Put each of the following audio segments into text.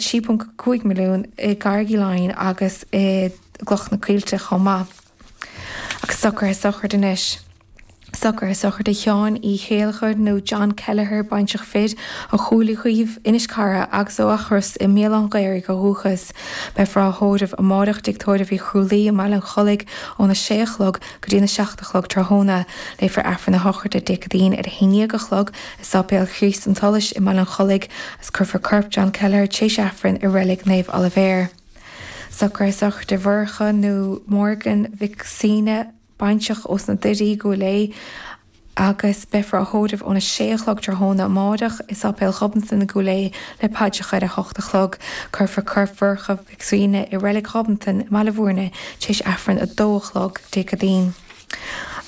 3.5 milliún i gCarraig Uí Leighin agus i gCloich na Coillte chomh maith. Agus socruithe sochraide anois. Socruithe sochraide Sheáin Uí Chéilleachair nó John Kelleher, baintreach fir, ó Chúil Uí Chaoimh, Inis Carra agus ó Eachros i mBéal Átha'n Ghaorthaidh ó dhúchas. Beifear á thórramh amáireach i dTigh Tórraimh Uí Chrualaoi i mBaile an Chollaigh óna sé a chlog go dtína 7 a chlog tráthnóna. Léifear Aifreann na sochraide Dé Céadaoin ar a 11 a chlog i Sáipéal Chríost an tSolais i mBaile an Chollaigh agus cuirfear corp John Kelleher tar éis Aifrinn i Reilig Naomh Oilibhéar. Socruithe sochraide Mhurcha nó Morgan Mhic Suibhne, baintreach ós na Doirí, Gúil Aodha, agus beifear á thórramh óna sé a chlog tráthnóna amáireach i Sáipéal Ghobnatan i gCúil Aodha le paidreacha ar a hocht a chlog. Cuirfear corp Mhurcha Mhic Suibhne i Reilig Ghobnatan i mBaile Bhúirne tar éis Aifreann a dó a chlog Dé Céadaoin.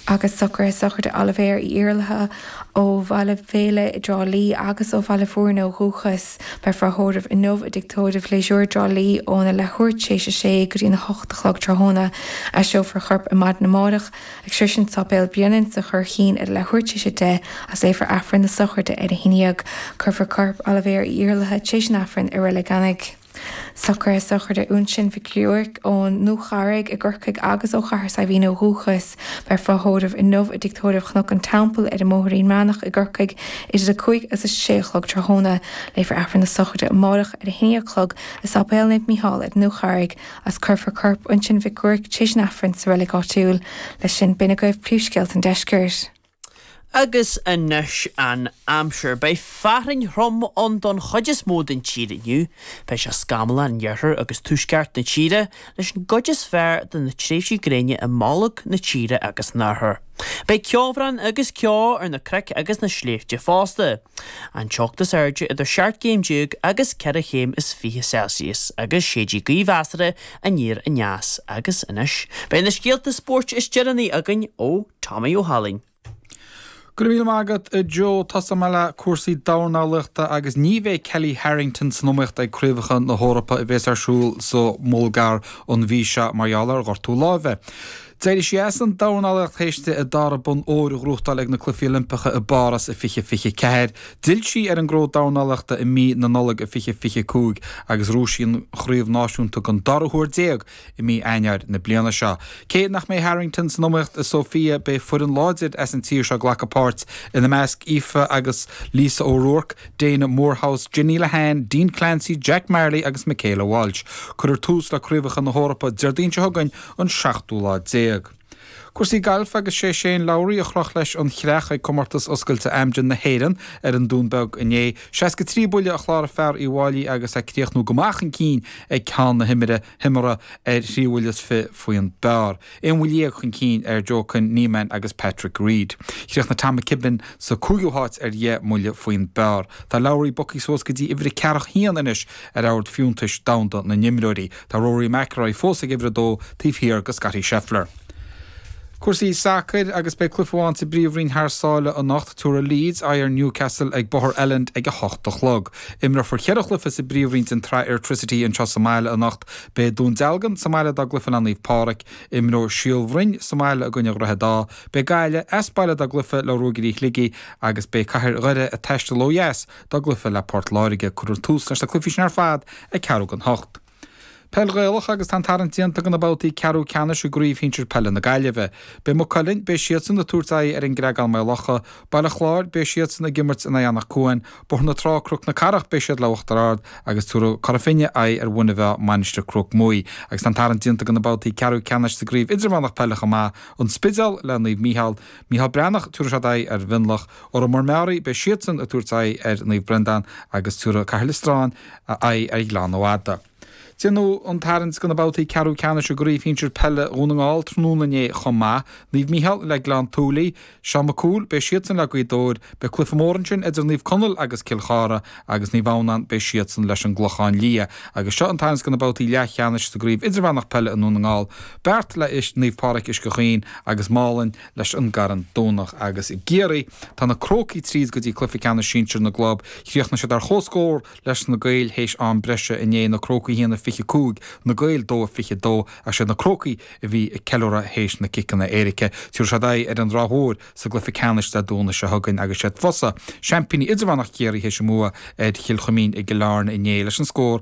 Agus socruithe sochraide Oilibhéir Uí Iarlaithe ó Bhaile Bhéile i dTrá Lí agus ó Bhaile Bhúirne ó dhúchas. Beifear á thórramh inniu i dTigh Tórraimh Phléisiúir i dTrá Lí óna leathuair tar éis a sé go dtína hocht a chlog tráthnóna. Aistreofar a chorp ar maidin amárach ag sroisint Sáipéal Bhréanainn sa Churraichín ar a leathuair tar éis a 10 agus léifear Aifreann na sochraide ar a haon dhéag. Cuirfear corp Oilibhéir Uí Iarlaithe tar éis an Aifrinn i Reilig Eanaigh. Socruithe sochraide Uinseann Mhic Giúirc ón nDúcharraig i gCorcaigh agus ó Chathair Saidhbhín ó dhúchas. Beifear á thórramh inniu i dTigh Tórraimh Chnoc an Teampaill ar an mBóithrín Meánach i gCorcaigh idir 5 agus 6 a chlog tráthnóna. Léifear Aifreann na sochraide amárach ar 11 a chlog i Sáipéal Naomh Mícheál ar an nDúcharraig agus cuirfear corp Uinseann Mhic Giúirc tar éis an Aifrinn sa reilig áitiúil. Leis sin, b'in agaibh príomhscéalta an deiscirt. Agus anois an aimsir. Beidh fearthainn throm ann don chuid is mó den tír inniu. Beidh sé scamallach in iarthar agus tuaisceart na tíre, leis an gcuid is fearr de na tréimhsí gréine i mbolg na tíre agus san oirthear. Beidh ceobhrán agus ceo ar na cnoic agus na sléibhte fosta. An teocht is airde idir 17 céim agus 4 chéim is 20 Celsius agus séidfidh gaoth mheasartha aniar aneas. Agus anois, beidh na scéalta spóirt is deireanaí againn ó Tommy Ó hAilín. Go raibh míle maith agat, a Joe. Tosóidh mé le cúrsaí dornálaíochta agus ní bheidh Kellie Harrington san iomaíocht ag Craobhacha na hEorpa a bhéas ar siúl sa mBulgáir an mhí seo mar gheall ar ghortú láimhe. D'éirigh sí as an dornálaíocht théis di a dara bonn óir a ghnóthachtáil ag na Cluichí Oilimpeacha i bPáras i 2024. D'fhill sí ar an gcró dornálaíochta i mí na Nollag i 2025 agus ghnóthaigh sí an chraobh náisiúnta den dara huair déag i mí Eanáir na bliana seo. Cé nach mbeidh Harrington san iomaíocht i Sofia, beidh foireann láidir as an tír seo ag glacadh páirt, ina measc Aoife agus Lisa O'Rourke, Dana Moorhouse, Jenny Lehane, Dean Clancy, Jack Marley agus Michaela Walsh. Cuirfear tús le Craobhacha na hEorpa Déardaoin seo chugainn, an seachtú lá déag. Cúrsaí gailf agus sé Shane Lowry a chroch leis an chreach ag Comórtas Oscailte Amgen na hÉireann ar an Dún Beag inné. 63 buille a chláraigh fear Uíbh Fhailí agus é ag críochnú go maith chun cinn ag ceann na himeartha ar thrí bhuille is fi faoin bpar. Aon bhuille dhéag chun cinn ar Joaquin Niemann agus Patrick Reed. Chríochnaigh Tom McKibbin sa cúigiú háit ar dheich mbuille faoin bpar. Tá Lowry bogtha suas go dtí uimhir a ceathracha haon anois ar ord fiúntais domhanda na n-imreoirí. Tá Rory McIlroy fós ag uimhir a dó taobh thiar de Scottie Scheffler. Cúrsaí sacair agus beidh cluiche amháin sa bPríomhroinn thar sáile anocht. Tabharfaidh Leeds aghaidh ar Newcastle ag Bóthar Elland ag a hocht a chlog. Imreofar cheithre chluiche sa bPríomhroinn den tsraith Airtricity anseo sa mbaile anocht. Beidh Dún Dealgan sa mbaile dá gcluiche le Naomh Pádraig. Imreoidh Síol Bhroin sa mbaile i gcoinne Dhroichead Átha. Beidh Gaillimh as baile dá gcluiche le Ruagairí Shligigh agus beidh Cathair Dhoire ag taisteal ó dheas dá gcluiche le Port Láirge. Cuirfear tús leis na cluichí sin ar fad ag ceathrú don hocht. Peil Ghaelach agus tá an tarraingt déanta do na babhtaí ceathrú ceannais i gCraobh Shinsir Peile na Gaillimhe. Beidh Maigh Cuilinn, beidh siadsan ag tabhairt aghaidh ar an gCreagán Maigh Locha, Baile Chláir, beidh siadsan ag imirt in aghaidh Anach Cuain, Bóthar na Trá, Cnoc na Cathrach, beidh siad le Uachtar Ard agus tabharfaidh Cora Finne aghaidh ar Mhuine Mheá, Mainistir Cnoc Muaidh. Agus tá an tarraingt déanta do na babhtaí ceathrú ceannais sa gCraobh Idirmheánach Peile chomh maith, An Spidéal le Naomh Mícheál, Mícheál Breathnach, tabharfaidh siad aghaidh ar Mhionlach, Órán Mór Meáraí, beidh siadsan ag tabhairt aghaidh ar Naomh Breandán agus tabharfaidh Cathair Loistreáin aghaidh ar Ghleann Fhada. Déanadh an tarraingt do na babhtaí ceathrú ceannais i gCraobh Shinsir Peile Dhún na nGall tráthnóna inné chomh maith. Naomh Mícheál le Gleann tSúilí, Seán Mac Cumhaill, beidh siadsan le Gaoth Dobhair, beidh cluiche mór ansin idir Naomh Conaill agus Cill Chartha agus Naomh Adhamhnáin, beidh siadsan leis an gClochán Liath. Agus seo an tarraingt do na babhtaí leathcheannais sa gCraobh Idirmheánach Peile i nDún na nGall, Beart le Naomh Pádraig Uisce Chaoin agus Málainn leis an gCarn Domhnach agus i gCiarraí. Tá na Crócaigh tríd go dtí cluiche ceannais sinsir na gclub. Chríochnaigh siad ar chomhscór leis na Gaeil théis am breise inné, na Crócaigh 1-25, na Gaeil 2-22, ach siad na Crócaigh a bhí ag ceiliúradh théis na ciceanna éirice. Tabharfaidh siad aghaidh ar an Ráth Mhór sa gcluiche ceannais Dé Domhnaigh seo chugainn agus siad fosta seaimpíní idirmheánach Chiarraí théis a mbua ar Chill Chuimín i gCill Airne inné leis an scór.